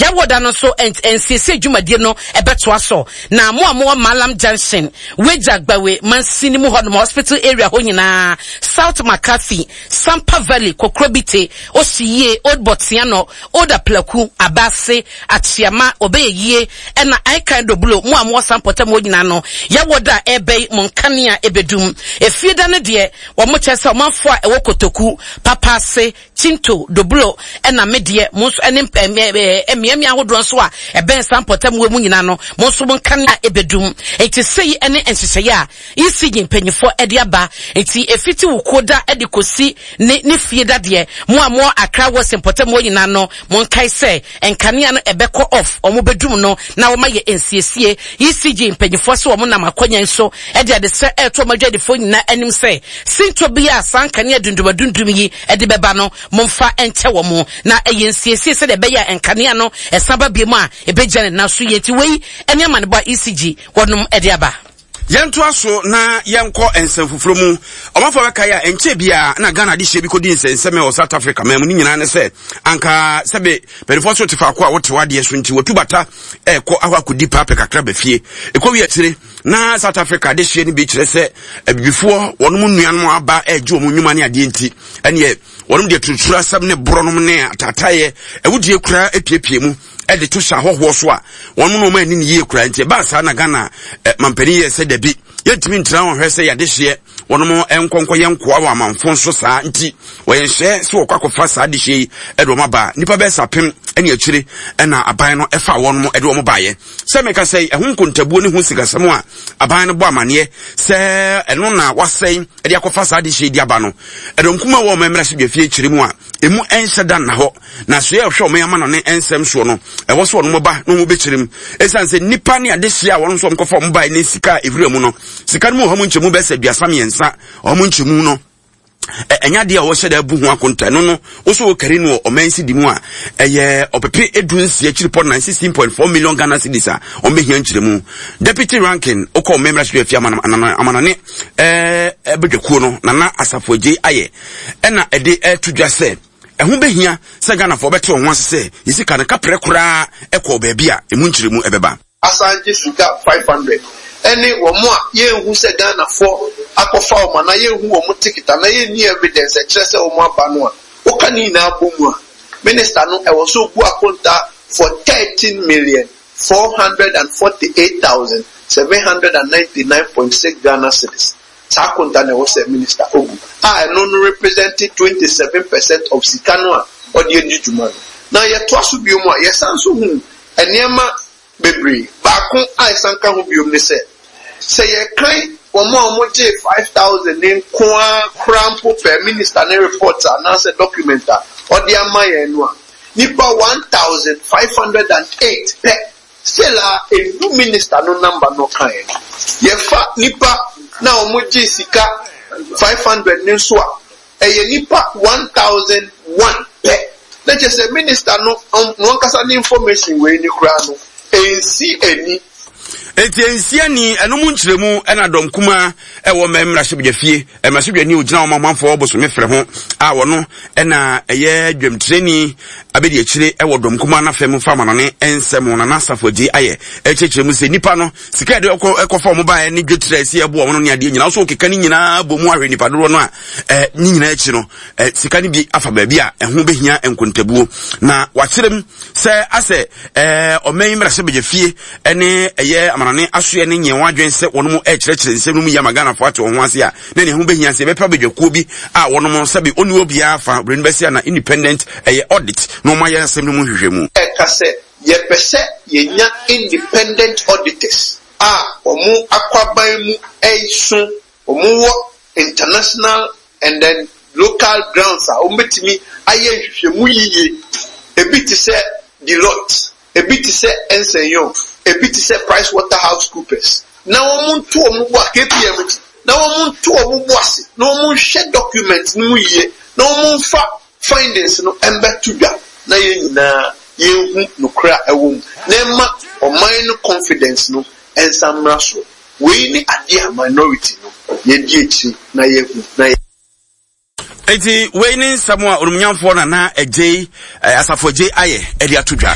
Yɛwɔ da no nso nsiesie dwumadie no ɛbɛtoa so. Na mo a mowɔ Mallam Junction, Weija Gbawe mansini mu hɔnom, hospital area hɔ nyinaa, South McCarthy, Sampa Valley, Kokrobite, Osiyie, Old Botsiano, Old Aplaku, Abase, Akyeama, Obeyeyie, ɛna Aikan Doblo, mo a mowɔ saa mpɔtam hɔ nyinaa no, yɛwɔ da a ɛreba yi, mo nkanea ɛbɛdum. Efie da no deɛ, wɔn kyerɛ sɛ ɔmanfoɔ a ɛwɔ Kotoku, Papaase, Chinto, Doblo, ɛna me deɛ, mo nso ɛne mmeammea ahodoɔ nso a ɛbɛn saa mpɔtam wɔ mu nyinaa no, mo nso mo nkanea ɛbɛdum. Enti sei ɛne nhyehyɛeɛ a ECG mpanyinfoɔ de aba. Enti ɛfiti wo kuo da de kɔsi ne ne fie da deɛ, mo a mowɔ Accra West mpɔtam hɔ nyinaa no, monkae sɛ nkanea no ɛbɛkɔ off, wɔn bɛdum no na wɔn ayɛ nsiesie. ECG mpanyinfoɔ sɛ wɔn nam akwannya yi so de adesrɛ ɛreto wɔn adwadifoɔ nyinaa anim sɛ, sintɔ biara a saa nkanea dundumadundum yi de bɛba no, momfa nkyɛ wɔn na ɛyɛ nsiesie sɛdeɛ ɛbɛyɛ a nkanea no ɛsan ba biom a ɛbɛgyina ne nan so yie. Nti wei ne amanebɔ a ECG wɔnom de aba. Yɛntoa so na yɛnkɔ nsɛm foforɔ mu. Ɔmanfoɔ bɛkae a ɛnkyɛ biara na Ghana adehyeɛ bi kɔdi nsɛnsɛm wɔ South Africa man mu. Ne nyinaa ne sɛ anka sɛbe mpanimfoɔ so te faako a wote w'adeɛ so nti wɔtu bata ɛkɔ akɔ akɔdi paapɛ kakra ba fie. Ɛkɔwie akyire na South Africa adehyeɛ no bi kyerɛ sɛ abibifoɔ wɔnom nnuanom aba ɛregye wɔn nnwuma ne adeɛ nti ɛneɛ wɔnom deɛ turuturu asɛm ne borɔnom ne ataataeɛ awudie koraa apiepie mu de to hyɛ ahɔhoɔ so a wɔn na wɔn ani ne yie koraa nti ɛbaa saa na Ghana eh, mampanin yɛ sɛ dabi yɛntumi ntena wɔn hwɛ sɛ yɛadehyeɛ wɔn nkɔnkɔ yɛ nkoa wɔ amanfo nso saa nti wɔyɛ nhyɛ sɛ wɔkɔ akɔfa saa adehyeɛ yi de wɔn aba nnipa bɛyɛ sɛ apem ne akyire ɛna aban no ɛfa wɔn de wɔn baeɛ sɛ meka sɛ ɛho nkontabuo ne ho sikasɛm a aban no bɔ amaneɛ sɛ ɛno na wasɛn de akɔfa saa adehyeɛ di aba no ɛdɔm kuma wɔ ɔman mmarahyɛbadwafie kyerɛ mu a emu ɛnhyɛ da nna hɔ Na soɛ a ɔhwɛ ɔman amanɔne nsɛm soɔ no, ɛwɔ sɛ wɔn ba na wɔn bɛkyerɛ mu. Ɛsiane sɛ nnipa ne adehyeɛ a wɔn nso wɔkɔfa wɔn bae ne sika a ɛwura mu no, sika no mu ɔha mu nkyɛmu bɛyɛ sɛ 33, ɔha mu nkyɛmu no, ɛnyɛ adeɛ a wɔhyɛ da abu ho akonta. Ɛno no, wo so wokari no wɔ ɔman sidi mu a, ɛyɛ ɔpepe edu nsia akyiripɔ nan, 16.4 million Ghana cedis a wɔbɛhia nkyerɛmu. Deputy ranking, wokɔ ɔman mmarahyɛbadwafie amanɔne ɛɛ badwakuo no, Nana Asafo Adjei ayɛ, ɛna ɛde ɛto dwa sɛ, Ɛho bɛhia sɛ Ghanafoɔ bɛte wɔn ho ase sɛ yɛn sika no kaprɛ koraa kɔɔ baabi a ɛmu nkyerɛmu bɛba. Asan gye sika 500 ɛne wɔn a yɛnhu sɛ Ghanafoɔ akɔfa wɔn anaa yɛnhu wɔn ticket anaa yɛnni evidence ɛkyerɛ sɛ wɔn aba no a, woka ne nyinaa bɔ mu a, Minister no ɛwɔ sɛ ɔbu akontaa for 13,448,799.6 Ghana cedis. Saa akonta na ɛwɔ sɛ minister obu a ɛno no represente 27 percent of sika no a ɔde adi dwuma no. Na yɛtoa so bio mu a, yɛsan nso hu nneɛma bebree. Baako a ɛsan ka ho bio ne sɛ, sɛ yɛkan wɔn a wɔgyee 5,000 no nko ara koraa mpo per minister ne report anaasɛ document a ɔde ama yɛn no a, nnipa 1,508 pɛ Still a ɛndu minister no number no ɔkaeɛ no. Yɛfa nipa na wɔn gyee sika 500 no nso a, ɛyɛ nipa 1001 pɛ. Na kyerɛ sɛ minister no no ankasa ne information wei no koraa no ɛnsi ani. Enti ɛnsi ani, ɛno mu nkyerɛmu ɛna dɔm kumaa ɛwɔ mmɛ mmarahyɛbadwafie, mmarahyɛbadwani a ɔgyina wɔn amanfoɔ bosome frɛ ho a wɔno ɛna ɛyɛ dwamtirani abɛdi akyire ɛwɔ dɔm kumaa no afɛ mu fa amanɔne nsɛm ho Nana Asafo Adjei ayɛ ɛkyerɛkyerɛ mu sɛ nnipa no sika yɛde ɛkɔ ɛkɔfa wɔn baeɛ ne dwetire a ɛsi ɛboa wɔn no ne adeɛ nyinaa nso keka ne nyinaa bɔ mu ahwɛ nnipa dodoɔ no a ɛ ne nyinaa akyi no ɛ sika no bi afa baabi a ɛho bɛhia nkontabuo na wakyerɛ mu sɛ asɛ ɛɛ ɔman yi mmarahyɛbadwafie ne ɛyɛ amanɔne asoɛ ne nyɛ wɔn adwene sɛ wɔn ɛrekyerɛkyerɛ nsɛm no mu yie ama Ghanafoɔ ate wɔn ho ase a na ne ho bɛhia sɛ yɛbɛpɛ abadwakuo bi a wɔn sɛbe ɔnni obiara fa wura no bɛsi ana independent ɛyɛ audit na wɔn ayɛ asɛm no mu nhwehwɛmu. Ɛka sɛ yɛpɛ sɛ yɛnya independent auditors a wɔn akwaban mu ɛso, wɔn wɔ international and then local grounds a wɔbɛtumi ayɛ nhwehwɛmu yiye, ebi te sɛ Deloitte, ebi te sɛ Ernst and Young, ebi te sɛ Price Waterhouse Coopers, na wɔnto wɔn bo a, KPMG, na wɔnto wɔn bo ase na wɔnhwɛ documents no mu yie na wɔmfa findings no mmɛto dwa na yɛn nyinaa yɛnhu nokorɛ a ɛwɔ mu na ɛma ɔman no confidence no nsan mmra soro. Wei ne adeɛ a minority no yɛdi akyire na yɛahu na yɛ. Enti wei ne nsɛm a onimnyamfoɔ Nana Adjei, eh, Asafo Adjei ayɛ de ato dwa.